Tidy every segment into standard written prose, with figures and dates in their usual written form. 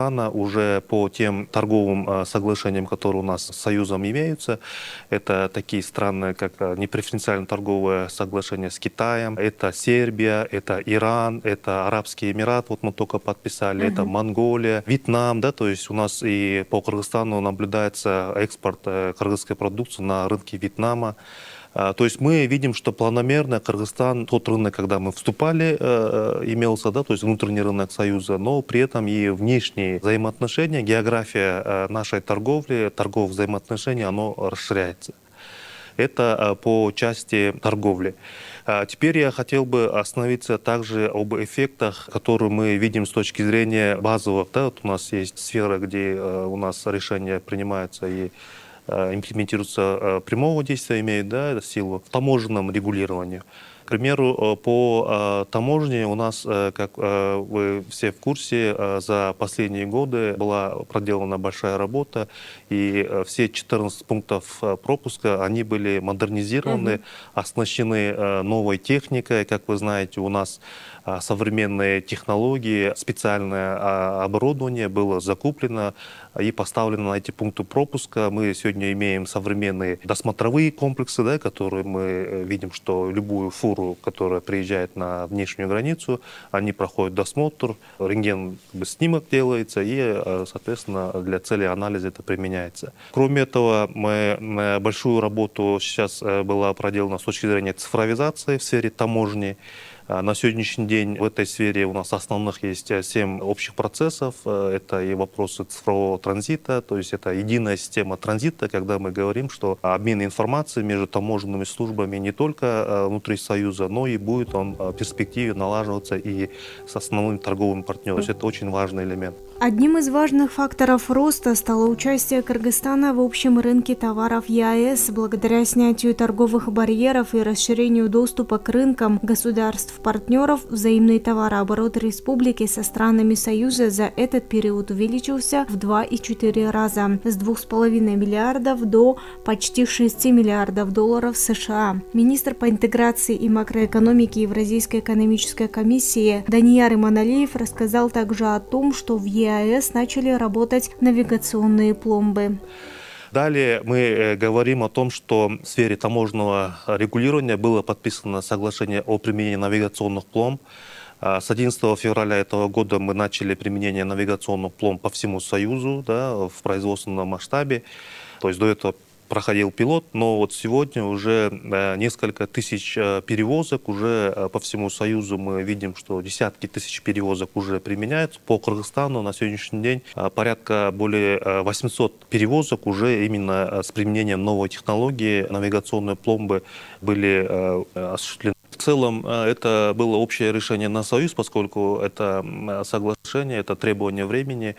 Уже по тем торговым соглашениям, которые у нас с Союзом имеются, это такие страны, как непреференциальное торговое соглашение с Китаем, это Сербия, это Иран, это Арабские Эмираты, вот мы только подписали, это Монголия, Вьетнам, да, то есть у нас и по Кыргызстану наблюдается экспорт кыргызской продукции на рынке Вьетнама. То есть мы видим, что планомерно Кыргызстан, тот рынок, когда мы вступали, имелся, да, то есть внутренний рынок Союза, но при этом и внешние взаимоотношения, география нашей торговли, торговых взаимоотношений, оно расширяется. Это по части торговли. Теперь я хотел бы остановиться также об эффектах, которые мы видим с точки зрения базовых. Да, вот у нас есть сфера, где у нас решения принимаются и имплементируются прямого действия, имеют, да, силу в таможенном регулировании. К примеру, по таможне у нас, как вы все в курсе, за последние годы была проделана большая работа, и все 14 пунктов пропуска, они были модернизированы, оснащены новой техникой. Как вы знаете, у нас современные технологии, специальное оборудование было закуплено и поставлено на эти пункты пропуска. Мы сегодня имеем современные досмотровые комплексы, да, которые мы видим, что любую фуру, которая приезжает на внешнюю границу, они проходят досмотр, рентген-снимок делается, и, соответственно, для цели анализа это применяется. Кроме этого, большую работу сейчас была проделана с точки зрения цифровизации в сфере таможни. На сегодняшний день в этой сфере у нас основных есть 7 общих процессов. Это и вопросы цифрового транзита, то есть это единая система транзита, когда мы говорим, что обмен информацией между таможенными службами не только внутри Союза, но и будет он в перспективе налаживаться и с основными торговыми партнерами. То есть это очень важный элемент. Одним из важных факторов роста стало участие Кыргызстана в общем рынке товаров ЕАЭС благодаря снятию торговых барьеров и расширению доступа к рынкам государств-партнеров. Взаимный товарооборот республики со странами Союза за этот период увеличился в 2,4 раза – с 2,5 миллиардов до почти 6 миллиардов долларов США. Министр по интеграции и макроэкономике Евразийской экономической комиссии Данияр Иманалиев рассказал также о том, что в ЕАЭС начали работать навигационные пломбы. Далее мы говорим о том, что в сфере таможенного регулирования было подписано соглашение о применении навигационных пломб. С 11 февраля этого года мы начали применение навигационных пломб по всему Союзу, да, в производственном масштабе. То есть до этого проходил пилот, но вот сегодня уже несколько тысяч перевозок уже по всему Союзу. Мы видим, что десятки тысяч перевозок уже применяются. По Кыргызстану на сегодняшний день порядка более 800 перевозок уже именно с применением новой технологии навигационной пломбы были осуществлены. В целом это было общее решение на Союз, поскольку это соглашение, это требование времени.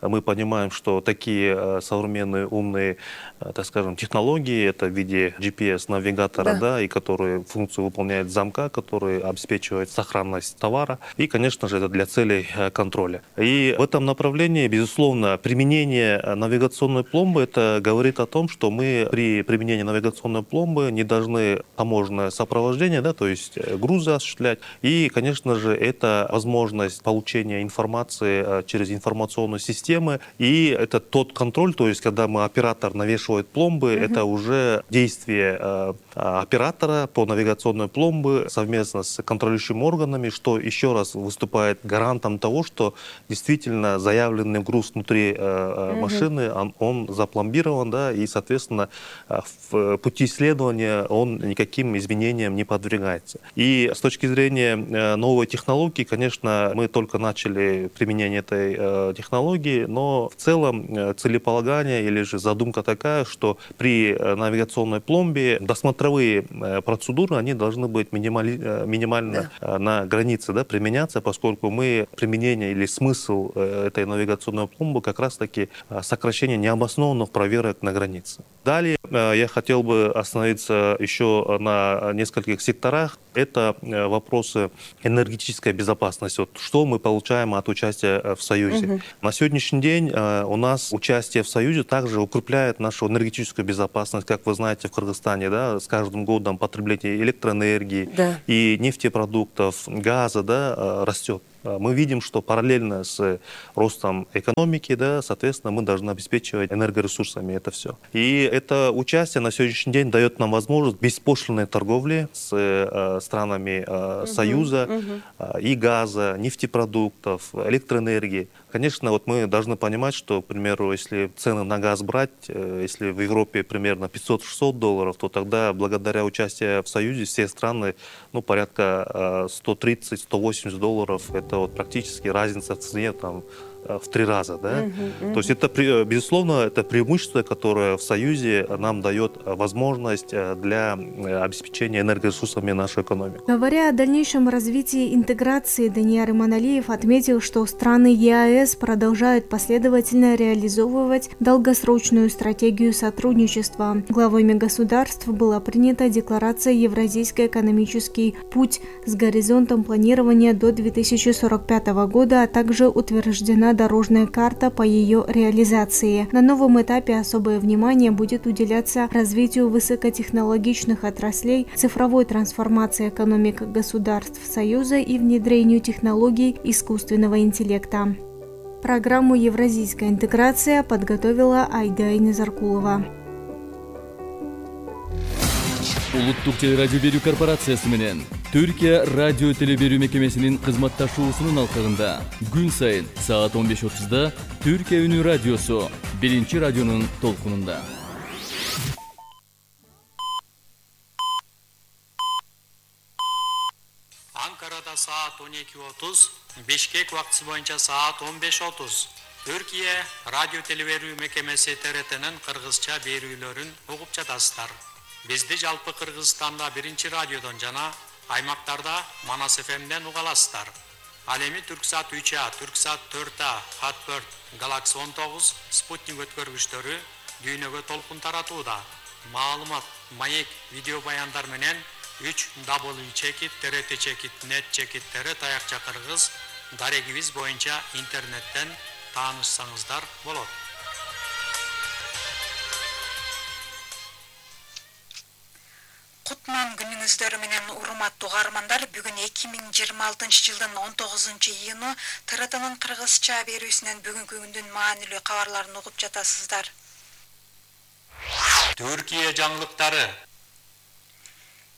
Мы понимаем, что такие современные умные, так скажем, технологии, это в виде GPS-навигатора, да, и которые функцию выполняет замка, который обеспечивает сохранность товара, и, конечно же, это для целей контроля. И в этом направлении, безусловно, применение навигационной пломбы, это говорит о том, что мы при применении навигационной пломбы не должны таможенное сопровождение, да, то есть грузы осуществлять. И, конечно же, это возможность получения информации через информационную систему. И это тот контроль, то есть когда оператор навешивает пломбы, это уже действие оператора по навигационной пломбе совместно с контролирующими органами, что еще раз выступает гарантом того, что действительно заявленный груз внутри машины, он запломбирован, да, и, соответственно, в пути исследования он никаким изменениям не подвергается. И с точки зрения новой технологии, конечно, мы только начали применение этой технологии, но в целом целеполагание или же задумка такая, что при навигационной пломбе досмотровые процедуры, они должны быть минимально на границе, да, применяться, поскольку применение или смысл этой навигационной пломбы как раз-таки сокращение необоснованных проверок на границе. Далее я хотел бы остановиться еще на нескольких секторах. Это вопросы энергетической безопасности. Вот что мы получаем от участия в Союзе. На сегодняшний день у нас участие в Союзе также укрепляет нашу энергетическую безопасность. Как вы знаете, в Кыргызстане, да, с каждым годом потребление электроэнергии и нефтепродуктов, газа, да, растет. Мы видим, что параллельно с ростом экономики, да, соответственно, мы должны обеспечивать энергоресурсами это все. И это участие на сегодняшний день дает нам возможность беспошлинной торговли с странами Союза и газа, нефтепродуктов, электроэнергии. Конечно, вот мы должны понимать, что, к примеру, если цены на газ брать, если в Европе примерно $500-600, то тогда благодаря участию в Союзе все страны, ну, порядка $130-180, это вот практически разница в цене там в 3 раза, да? То есть это, безусловно, это преимущество, которое в Союзе нам дает возможность для обеспечения энергоресурсами нашу экономику. Говоря о дальнейшем развитии интеграции, Данияр Иманалиев отметил, что страны ЕАЭС продолжают последовательно реализовывать долгосрочную стратегию сотрудничества. Главами государств была принята декларация «Евразийский экономический путь» с горизонтом планирования до 2045 года, а также утверждена дорожная карта по ее реализации. На новом этапе особое внимание будет уделяться развитию высокотехнологичных отраслей, цифровой трансформации экономик государств Союза и внедрению технологий искусственного интеллекта. Программу «Евразийская интеграция» подготовила Айда Инезаркулова. Улуттук телерадио берүү корпорациясы менен Түркия радио телеберүү мекемесинин кызматташуусунун алкагында күн сайын саат 15:30 Түркия үнү радиосу биринчи радионун толкунунда. Анкарада саат 12:30, Бишкек убактысы боюнча саат 15:30. Түркия радио телеберүү мекемеси ТРТнын кыргызча берүүлөрүн угуп жатасыздар. Бизди жалпы Кыргызстанда биринчи радиодон жана аймактарда Манас ФМден уга аласыздар. Ал эми Түрксат 3А, Түрксат 4А, Хатберт, Galaxy 19, Спутник өткөргүчтөрү дүйнөгө толкун таратууда. Маалымат, маек, видео баяндар менен 3w.trt.net таякча кыргыз дарегибиз боюнча интернеттен таанышсаңыздар болот. Кутман күнүңүздөр менен урматтуу угармандар, бүгүн 2026 жылдын 19-июну ТРТнын кыргызча берүүсүнөн бүгүнкү күндүн маанилүү кабарларын угуп жатасыздар. Түркия жаңылыктары.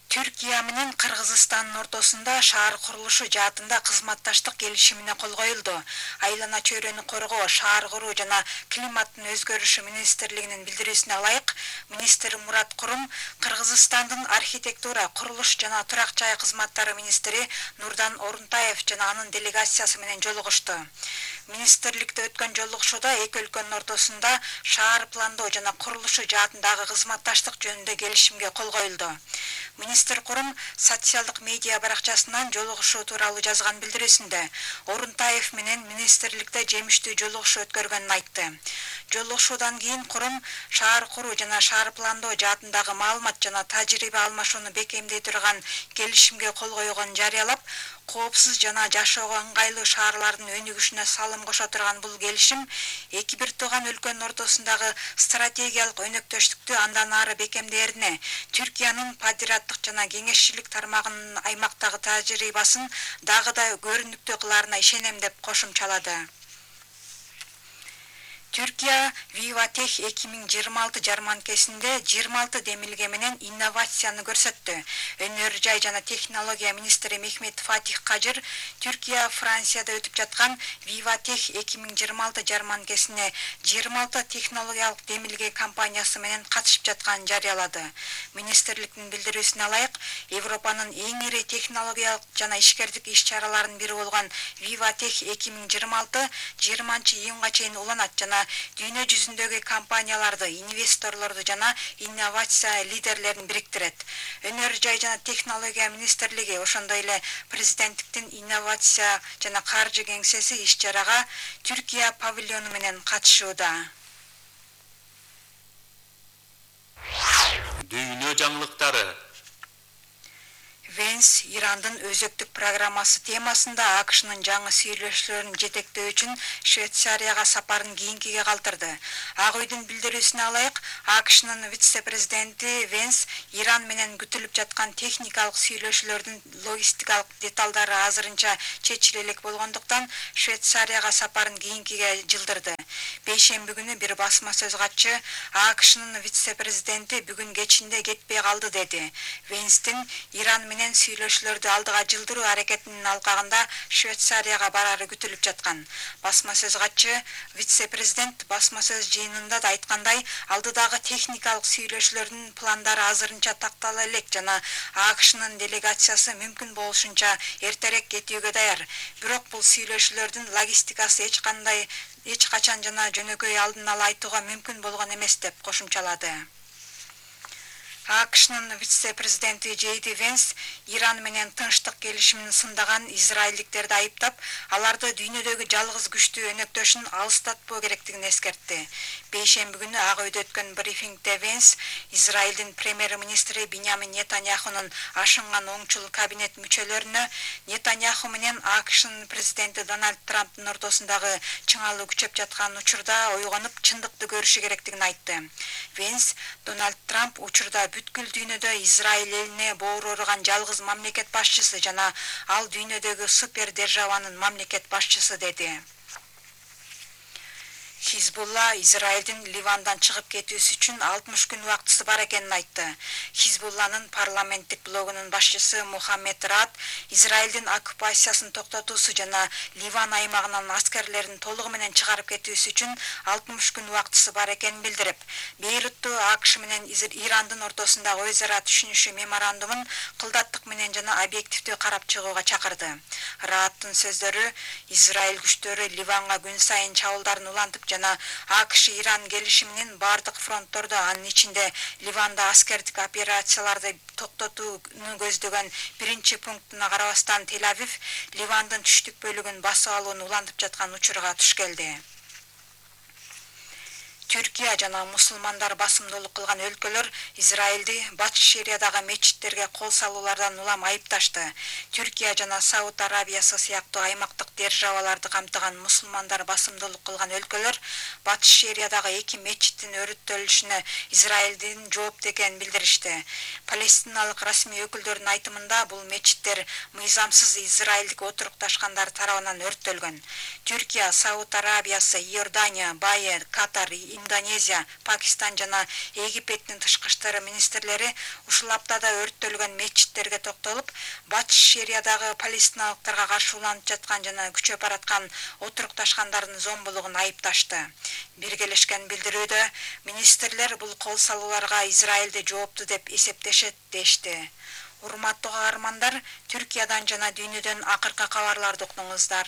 Түркия менен Кыргызстандын ортосунда шаар курулушу жаатында кызматташтык келишимине кол коюлду. Айлана чөйрөнү коргоо, шаар куруу жана климаттын өзгөрүшү министрлигинин билдирүүсүнө ылайык, министр Мурат Курум Кыргызстандын архитектура, курулуш жана турак жай кызматтары министри Нурдан Орунтаев жана анын делегациясы менен жолугушту. Министрликте өткөн жолугушууда эки өлкөнүн ортосунда шаар пландоо жана курулушу жаатындагы кызматташтык жөнүндө келишимге кол коюлду. Министр Курум социалдык медиа баракчасынан жолугушуу тууралуу жазган билдирүүсүндө Орунтаев менен министрликте жемиштүү жолугушуу өткөргөнүн айтты. Жолугушуудан кийин Курум шаар куруу жана шаар пландоо жаатындагы маалымат жана тажрыйба алмашууну бекемдей турган келишимге кол койгонун жарыялап, коопсуз жана жашоого ыңгайлуу шаарлардын өнүгүшүнө салым кошо турган бул келишим эки бир тууган өлкөнүн ортосундагы стратегиялык өнөктөштүктү андан ары бекемдээрине, Түркиянын падираттык жана кеңешчилик тармагынын аймактагы тажрыйбасын дагы да көрүнүктүү кылаарына ишенем деп кошумчалады. Түркия Vivatech 2026 жарманкесинде 26 демилге менен инновацияны көрсөттү. Өнөр жай жана технология министри Мехмет Фатих Кажыр Түркия Францияда өтүп жаткан Vivatech 2026 жарманкесине 26 технологиялык демилге компаниясы менен катышып жатканын жарыялады. Министрликтин билдирүүсүнө ылайык, Европанын эң ири технологиялык жана ишкердик иш-чараларынын бири болгон Vivatech 2026 20-июнга чейин уланат жана дүйнө жүзүндөгү компанияларды, инвесторлорду жана инновация лидерлерин бириктирет. Өнөр жай жана технология министрлиги ошондой эле президенттиктин инновация жана каржы кеңсеси иш-чарага Түркия павильону менен катышууда. Дүйнө жаңылыктары. Венс Ирандын өзөктүк программасы темасында АКШнын жаңы сүйлөшүүлөрүн жетектөө үчүн Швейцарияга сапарын кийинкиге калтырды. Ак үйдүн билдирүүсүнө ылайык, АКШнын вице-президенти Венс Иран менен күтүлүп жаткан техникалык сүйлөшүүлөрдүн логистикалык деталдары азырынча чечиле элек болгондуктан Швейцарияга сапарын кийинкиге жылдырды. Бейшемби күнү бир басма сөз катчы АКШнын вице-президенти бүгүн кечинде кетпей калды деди. Венстин Иран менен сүйлөшүүлөрдү алдыга жылдыруу аракетинин алкагында Швейцарияга барары күтүлүп жаткан. Басма сөз катчы вице-президент басма сөз жыйынында да айткандай, алдыдагы техникалык сүйлөшүүлөрдүн пландары азырынча тактала элек жана АКШнын делегациясы мүмкүн болушунча эртерээк кетүүгө даяр. Бирок бул сүйлөшүүлөрдүн логистикасы эч качан жана жөнөкөй алдын ала айтууга мүмкүн болгон эмес деп кошумчалады. АКШнын вице-президенти Джейди Венс Иран менен тынчтык келишимин сындаган израилдиктерди айыптап, аларды дүйнөдөгү жалгыз күчтүү өнөктөшүн алыстатпоо керектигин эскертти. Бейшемби күнү Ак үйдө өткөн брифингде Венс Израилдин премьер-министри Биньямин Нетаньяхунун ашынган оңчул кабинет мүчөлөрүнө Нетаньяху менен АКШнын президенти Дональд Трамптын ортосундагы чыңалуу күчөп жаткан учурда ойгонуп чындыкты көрүшү керектигин айтты. Венс Дональд Трамп учурда бүткүл дүйнөдө Израиль элине боору урган жалгыз мамлекет башчысы жана ал дүйнөдөгү супер державанын мамлекет башчысы деди. Хизбулла Израилдин Ливандан чыгып кетүүсү үчүн 60 күн убактысы бар экенин айтты. Хизбулланын парламенттик блогунун башчысы Мухаммед Рад Израилдин оккупациясын токтотуусу жана Ливан аймагынан аскерлерин толугу менен чыгарып кетүүсү үчүн 60 күн убактысы бар экенин билдирип, Бейрутту АКШ менен Ирандын ортосундагы өз ара түшүнүшү меморандумун кылдаттык менен жана объективдүү карап чыгууга чакырды. Раддын сөздөрү Израиль күчтөрү Ливанга күн сайын чабуулдарын улантып жана АКШ Иран келишиминин бардык фронттордо, анын ичинде Ливанда аскердик операцияларды токтотууну көздөгөн биринчи пунктуна карабастан Тель-Авив Ливандын түштүк бөлүгүн басып алууну улантып жаткан учурга туш келди. Түркия жана мусулмандар басымдуулук кылган өлкөлөр Израилди Батыш Шериядагы мечиттерге кол салуулардан улам айыпташты. Түркия жана Сауд Арабиясы сыяктуу аймактык державаларды камтыган мусулмандар басымдуулук кылган өлкөлөр Батыш Шериядагы 2 мечиттин өрүттөлүшүнө Израилдин жоопту экенин билдиришти. Палестиналык расмий өкүлдөрдүн айтымында бул мечиттер мыйзамсыз израилдик отурукташкандар тарабынан өрттөлгөн. Түркия, Сауд Арабиясы, Иордания, Бае, Катар, Индонезия, Пакистан жана Египеттин тышкы иштер министрлери ушул аптада өрттөлгөн мечиттерге токтолуп, Батыш Шериядагы палестиналыктарга каршы уланып жаткан жана күчөп бараткан отурукташкандардын зомбулугун айыпташты. Биргелешкен билдирүүдө министрлер бул кол салууларга Израилди жоопту деп эсептешет дешти. Урматтуу каармандар, Түркиядан жана дүйнөдөн акыркы кабарларды уктуңуздар.